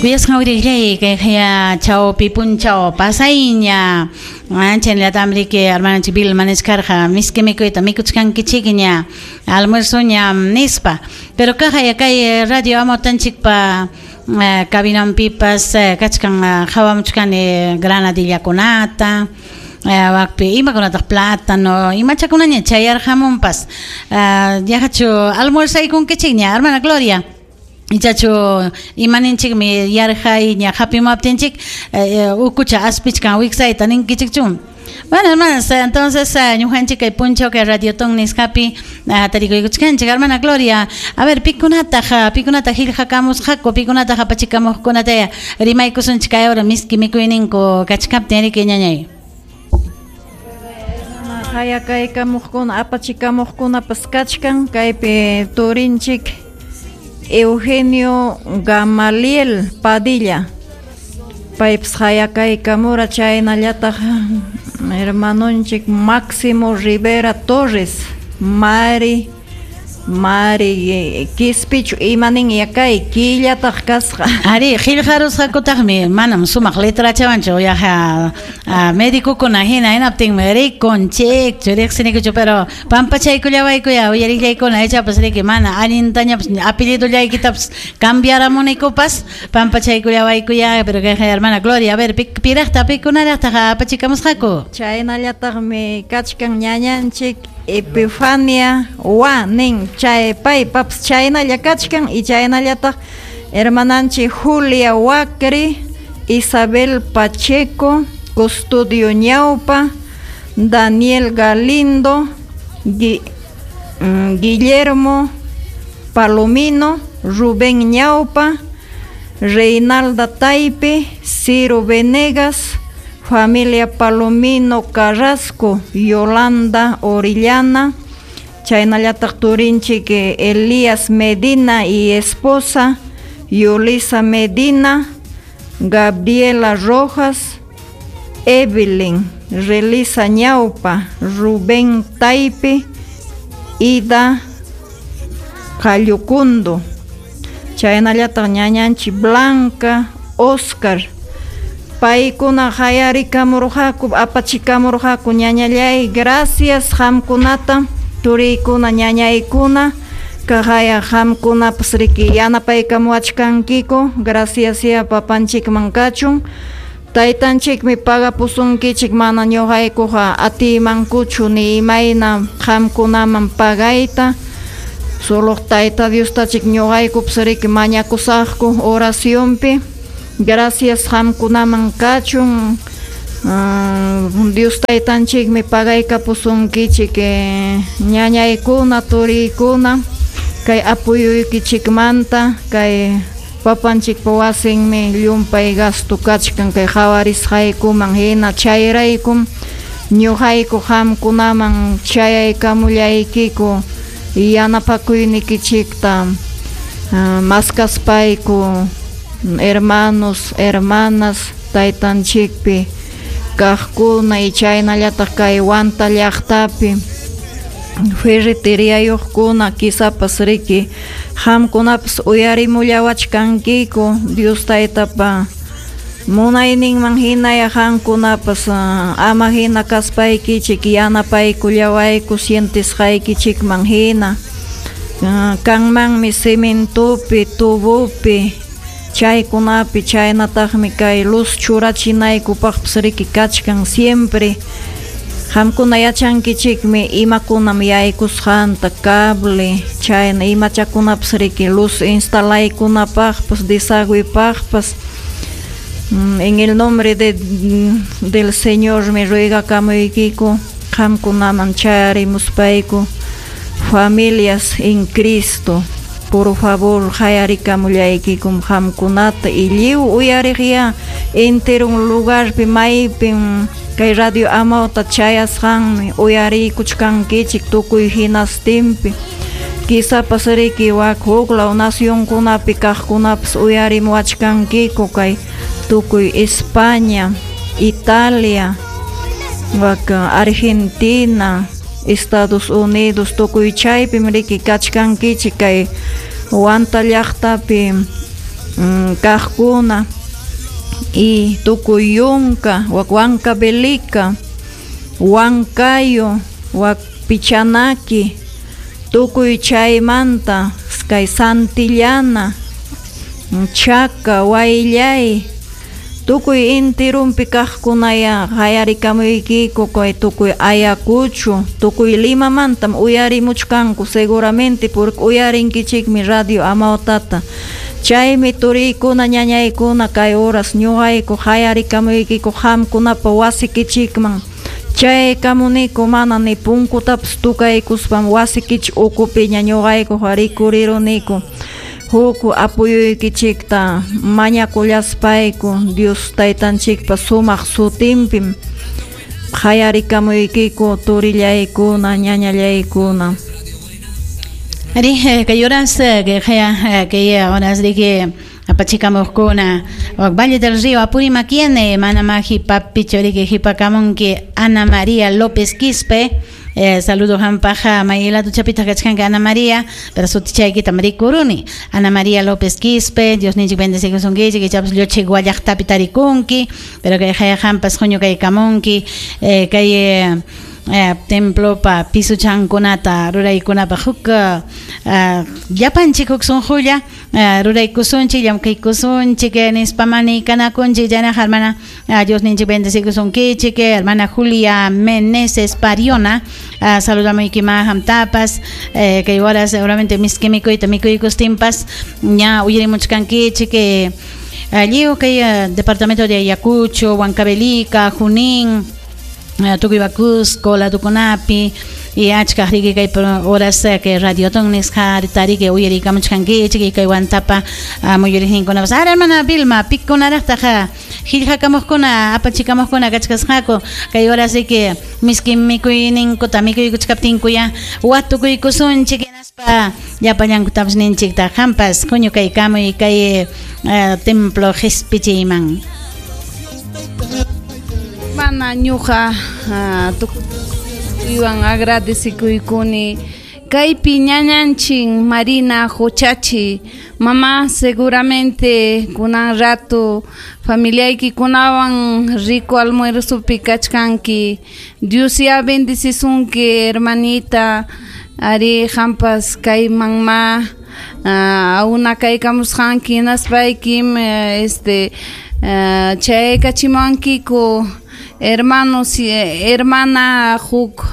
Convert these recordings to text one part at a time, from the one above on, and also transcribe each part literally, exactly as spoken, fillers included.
Kuyasqan uyariqllay kay chawpi punchaw pasayña chaynallatam riki hermananchik Vilma nichkarqa miski mikuyta mikuchkankichikña almuerzoña nispa, pero kaqaya kay radio Amawtanchikpa cabinanpipas kachkan qhawamuchkani granadillakunata wakpi imakunataq plátano imachakunaña chayarqamunpas yaqachu almuerzaykunkichikña hermana Gloria. Ichachu imaninchikmi yarqayña hapimaptinchik ukucha aspichkan wiksayta ninkichikchu. Bueno, hermanas, entonces ñuqanchik kay punchaw kay Radiotón nisqapi tarikuykuchkanchik. Hermana Gloria, a ver, pikunataq pikunataq qillqakamusqaku, pikunataq apachikamuqkunata rimaykusunchik kay hora miski mikuyninku kachkaptin riki ñañay. Hayakaykamuqkuna apachikamuqkunapas kachkan kaypi turinchik Eugenio Gamaliel Padilla paypas hayakaykamura chaynallataq hermanonchik Máximo Rivera Torres Mari Mari Quispichu imanin yakay killataq kasqa. Ari qillqarusqakutaqmi manam sumaq letrachawanchu yaqa medicokuna hina hinaptinmi rikunchikchu riqsinikuchu pero pampachaykullawaykuya uyariqllaykuna ichapas riki mana allintañapas apellidollaykitapas cambiaramunikupas pampachaykullawaykuya pero kay hermana Gloria, a ver piraqta pikunaraqtaq apachikamusqaku. Chaynallataqmi kachkan ñañanchik Epifania wa nin chay paypapas chaynalla kachkan y chaynallataq hermananchik Julia Huacri, Isabel Pacheco, Custodio Ñaupa, Daniel Galindo, Gui, Guillermo Palomino, Rubén Ñaupa, Reinalda Taipe, Ciro Venegas, familia Palomino Carrasco, Yolanda Orellana, chaynallataq turinchik Elías Medina y esposa, Yulisa Medina, Gabriela Rojas, Evelyn Relisa Ñaupa, Rubén Taipe, Ida Callucundo, chaynallataq ñañanchik Blanca, Oscar, paykuna hayarikamurqaku apachikamurqaku ñañallay, gracias qamkunata turiykuna ñañaykuna kaqaya qamkunapas riki yanapaykamuwachkankiku, gracias ya papanchikman kachun taytanchikmi pagapusunkichik mana ñuqaykuqa atiymankuchu ni imayna qamkunaman pagayta solo tayta Diostachik ñuqaykupas riki mañakusaqku oracionpi. Gracias qamkunaman kachun uh, Dios taytanchikmi pagaykapusunkichik eh, ñañaykuna turiykuna kay apuyuykichikmanta kay papanchikpa wasinmi llumpay gasto kachkan kay qawarisqaykuman hina chayraykum ñuqayku qamkunaman chayaykamullaykiku yanapakuynikichikta uh, maskaspayku hermanos, hermanas, taytanchikpi kaqkuna y chaynallataq kay Huanta llaqtapi ferreteriayuqkuna kisapas riki qamkunapas uyarimullawachkankiku Dios taytapa munayninman hinaya qamkunapas ama hina kaspaykichik yanapaykullawayku sientisqaykichikman hina kanmanmi cementopi, tubopi chaykunapi chaynataqmi kay luz churachinaykupaqpas riki kachkan siempre qamkuna yachankichikmi imakunam yaykusqanta cable chayna imachakunapas riki luz instalaykunapaqpas desagüepaqpas. En el nombre de, del Señor me ruegakamuykiku qamkunaman chayarimuspayku familias en Cristo. Por favor, hayarikamullaykikum qamkunata y lliw uyariqya enteron lugarpi maypim kay radio Amawta chayasqanmi uyariykuchkankichik tukuy hinastinpi kisapas riki wak huklaw nacionkunapi kaqkunapas uyarimuwachkankiku kay tukuy España, Italia, wak Argentina, Estados Unidos tukuy chaypim riki kachkankichik kay Huanta llaqtapi kaqkuna y tukuy yunka wak Huancavelica, Huancayo, wak Pichanaki, tukuy chaymanta kay Santillana, Chaca, Huayllay, tukuy intirumpi kaqkunaya qayarikamuykiku kay tukuy Ayacucho, tukuy Limamantam uyarimuchkanku seguramente porque uyarinkichikmi radio Amawtata. Chaymi turiykuna ñañaykuna kay horas ñuqayku qayarikamuykiku qamkunapa wasikichikman. Chaykamuniku mana ni punkutapas tukaykuspam wasikichik ukupiña ñuqayku rikuriruniku. Huk apuyuykichikta mañakullaspayku Dios taytanchikpa sumaq sutinpim qayarikamuykiku turillaykuna ñañallaykuna. Ari, kay horas que kay horas de que apachikamukuna Valle del Río Apurímac mana maji papi chorike hipakamunki Ana María López Quispe. Eh, saludo hampaja mayela tu chapita kachkanka Ana María, pero sutichaykita marikuruni Ana María López Quispe, Dios ninchik bendecikusunkichik, ichapas lluchi guallaqtapi tarikunki, pero kay hampas huñu kay kamunki, eh, kay eh, Eh, templo pa pisuchankunata ruraykunapa huk uh, llapanchik huk sunqulla uh, ruraykusunchik llamkaykusunchik nispa manikanakunchik llanaqa hermana uh, Dios ninchik bendecikusunkichik hermana Julia Meneses Pariona uh, saludamuyki hamtapas eh, kay horas seguramente miski mikuyta mikuykustinpas ña uyarimuchkankichik eh, lliw kay uh, departamento de Ayacucho, Huancavelica, Junín, tukuy Cusco, Latucunapi y achka riki kay horas que radioton nisqa tariki uyarikamuchkankichik kay wantapa muyuriqninkunapas ara hermana Vilma pikunaraqtaqa qillqakamuqkuna apachikamuqkuna kachkasqaku kay horas que miski mikuyninkuta mikuykuchkaptinkuya watukuykusunchik hinaspa llapallankutapas ninchikta qampas huñukaykamuy kay templo qispichiyman. Mana ñuqa tukuywan agradecikuykuni kaypi ñañanchin Marina Huchachi mamá seguramente kunan rato familiaykikunawan rico almuerzopi kachkanki Dios ya bendecisunki hermanita ari hampas kayman ma auna kaykamusqanki hinaspaykim este Uh, chaykachimankiku hermanos y hermana huk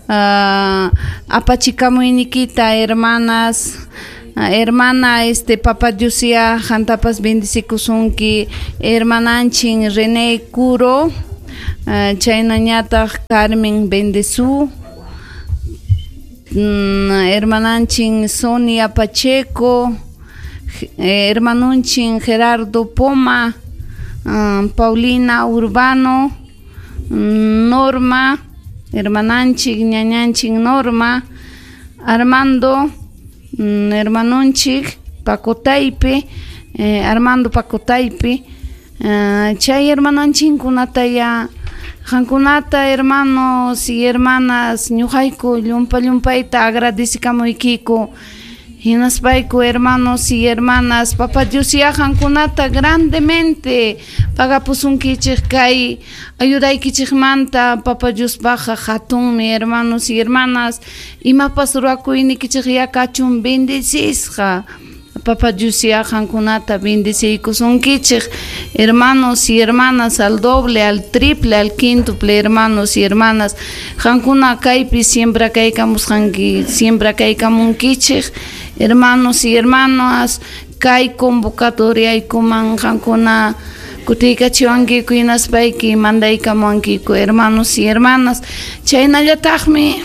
uh, apachikamuynikita hermanas uh, hermana este papa Dios ya hantapas bendecikusunki hermananchin René Curo uh, chaynañataq Carmen Bendezú mm, hermananchin Sonia Pacheco eh, hermanunchin Gerardo Poma Um, Paulina Urbano, Norma, hermananchik, ñañanchik Norma, Armando, um, hermanunchik, Pacotaipe, eh, Armando Pacotaipe, uh, chay hermananchinkunata ya, qankunata hermanos y hermanas, ñuqayku llumpa llumpayta agradecikamuykiku, hinaspayku hermanos y hermanas, Papá Dios ya qankunata grandemente pagapusunkichik kay ayudaykichikmanta Papá Dios baja hatunmi hermanos y hermanas, imapas ruwakuynikichik ya kachun bendecisqa Papá Dios ya qankunata bendeciykusunkichik hermanos y hermanas al doble, al triple, al quíntuple hermanos y hermanas qankuna kaypi siembra kaykamusqanki siembra kaykamunkichik hermanos y hermanas kay convocatoriaykuman qankuna kutiykachiwankiku hinaspayki mandaykamuwankiku hermanos y hermanas chaynallataqmi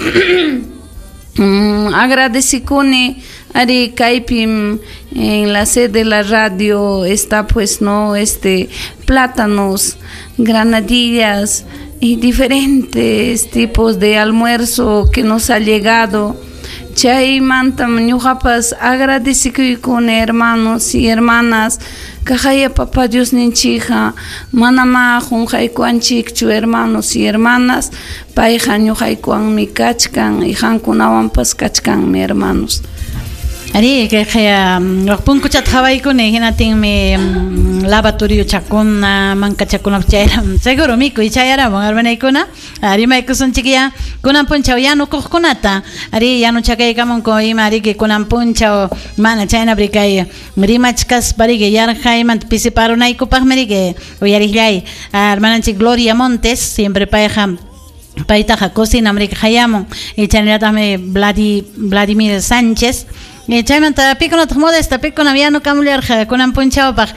agradecikuni ari kaypim en la sede de la radio está pues no este plátanos, granadillas y diferentes tipos de almuerzo que nos ha llegado. Chaymantam ñuqapas agradecikuykuni hermanos y hermanas kaqaya Papá Dios ninchikqa manama qunqaykuwanchikchu hermanos y hermanas payqa ñuqaykuwanmi kachkan y qankunawanpas kachkanmi hermanos. Ari kay kaya punkuchat hawaykuni hinatinmi lavatorio chakuna mankachakuna chayram seguro mikuy chayaramun hermanaykuna rimaykusunchik ya kunan punchaw yanukuqkunata ari yanuchakaykamunku ima riki kunan punchaw mana chaynapri kay rimachkaspa riki yarqaymanta pisiparunaykupaqmi riki uyariqllay hermananchik Gloria Montes siempre payqa paytaqa cocinam riki hayamun y chaynallataqmi Vladi Vladimir Sánchez y chaymanta pikunataq Modesta pikunam yanukamullarqa kunan punchawpaq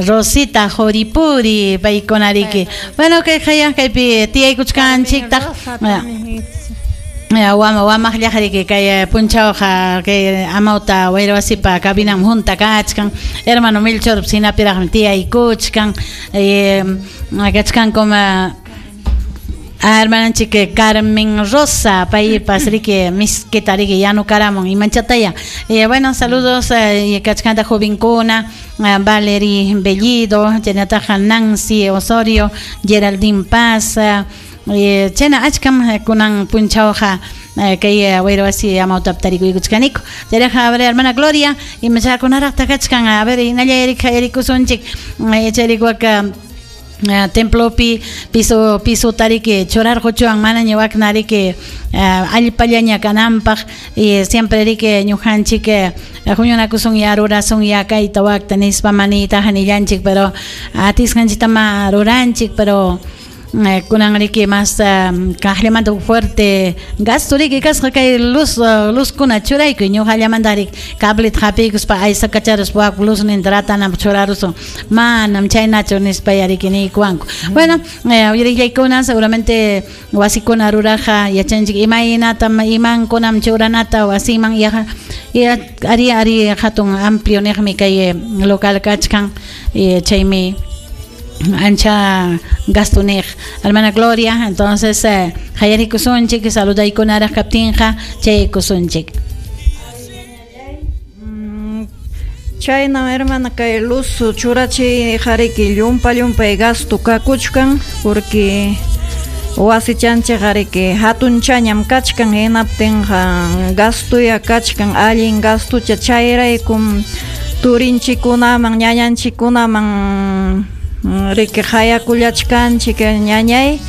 Rosita Joripuri paykuna riki bueno kay hayan kaypi tiyaykuchkanchiktaq wama wamaqllaq riki kay punchawqa kay amawta wayrawasipa cabinam junta kachkan hermano Melchor sinapiraqmi tiyaykuchkan kachkankum hermananchik Carmen Rosa paypas riki miskita riki yanukaramun imanchataya eh, bueno saludos eh, kachkanta jovenkuna Valerie Bellido chaynataqa Nancy Osorio Geraldine Paz eh, chayna achkam kunan punchawqa kay wayrawasi amawtap tarikuykuchkaniku chayraqa a ver hermana Gloria imachakunaraqta kachkan a ver hinalla rikusunchik chayrikuwaka templopi piso piso tariki churarquchuwan manaña wakna riki allpallaña kananpaq y siempre riki ñuqanchik huñunakusun ya rurasun ya kayta wakta nispa manitaqa nillanchik pero atisqanchiktama ruranchik pero kunan riki mas kaqllamanta fuerte gasto riki kasqa kay luz luzkuna churaykuy ñuqallamanta riki cableta hapiykuspa aysakacharuspa wak luzninta ratananpaq churarusun manam chaynachu nispa riki niykuwanku bueno uyariqllaykuna seguramente wasikuna ruraqa yachanchik imaynatam imankunam churanata wasiman yaqa ari ari hatun amplio niqmi kay local kachkan chaymi ancha gasto niq hermana Gloria entonces eh, hayarikusunchik saludaykunaraq kaptinqa chaykusunchik chayna hermana kay luz churachi hariki llumpa llumpay gasto kakuchkan porque wasichanchik hariki hatunchañam kachkan hinaptinqa gastoya kachkan allin gastocha chayraykum turinchikunaman ñañanchikunaman riki hayakullachkanchik ñañay